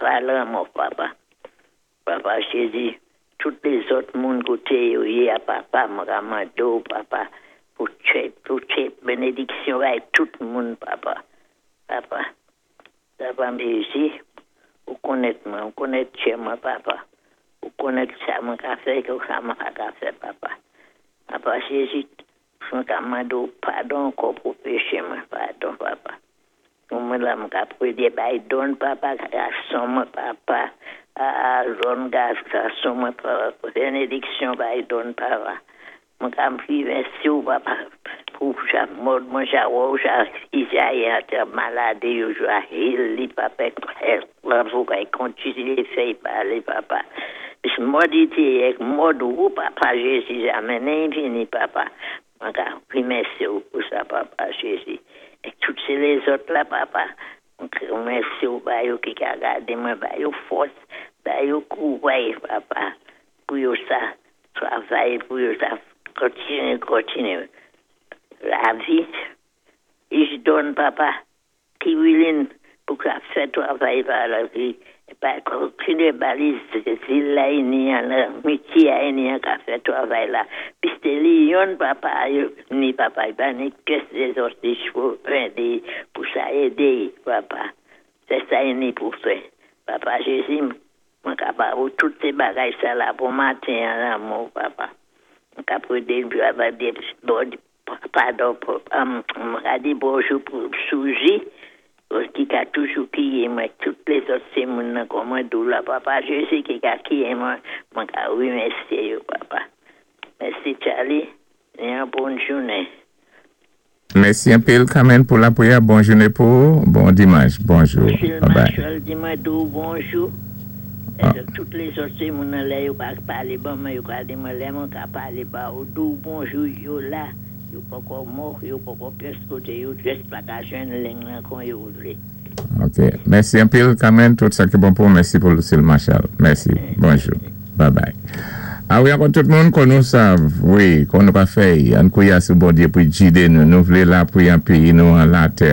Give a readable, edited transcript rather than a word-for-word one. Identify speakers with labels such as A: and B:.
A: Pa lanmò, papa. Papa Jézi, tout lézòt moun koté yo yé a, papa, mwen ka mandé, papa, pou tché bénédiksyon bay tout moun, papa. Papa, papa Jézi, ou konnèt mwen, ou konnèt tché mwen, papa. Ou konnèt sa mwen ka fè, ké sa mwen pa ka fè, papa. Papa Jézi, mwen ka mandé padon ankò pou péché mwen, padon, papa. Pou mwen la, mwen ka pwédé bay don, papa, gason mwen, papa, a jòn gason mwen, papa, bénédiksyon bay don, papa. Mwen ka mèsi ou, papa, pou chak mòd mwen ja wè ja Izayi a malad yo ja heal li, papa, pou kay kontinyé fè palé, papa. Mòd ité ak mòd ou, papa Jézi, amen infini, papa. Mwen ka mèsi ou pou sa, papa Jézi. É tout sé lézòt la, papa. Mèsi ou ba yo ki ka gadé mwen, ba yo fòs, ba yo kouray, papa, pou yo sa travay, pou yo sa kontinyé, kontinyé. Lavi, ich don, papa, ki wilin pou ka fè travay pa lavi, pa kontinyé ba li zil la ini an, mitye a ini an ka fè travay la. Piské li youn, papa, ni papa, pa ni kès lézòt pou édé, pou sa édé, papa. Sé sa ini pou fè. Papa Jézi, mwen ka ba ou tout sé bagay sa la pou maten an lanmou, papa. Mwen ka pwédé bon, padon, pou, mwen ka di bonjou pou Souji, ki ka toujou kwiyé mwen, tout lézòt sé moun nan kon mwen dou la, papa Jézi, ki ka kwiyé mwen, mwen ka wimèsyé yo, papa. Mèsi, Charlie, é yon bòn jounen.
B: Mèsi anpil, Carmen, pou lapwiyè. Bòn jounen pou ou. Bon dimanch. Bonjou.
A: Lucille
B: Bye bye.
A: Marshall di mwen dou bonjou. É tout lézòt sé moun nan lè yo pa palé ban mwen, yo ka di mwen lè mwen ka palé ba ou dou bonjou yo la, yo poko mò, yo poko pyès koté yo jis pa ka jwenn ling lan kon yo vlé.
B: Ok. Mèsi anpil, Carmen. Tout sa ki bon pou ou. Mèsi pou Lucille Marshall. Mèsi. Bonjou. Bye bye. A wi, ankò tout moun kon nou sav. Wi, kon nou ka fè, ann kwiyé sou Bondyé pou gidé nou. Nou vlé lapwi an péyi nou an latè.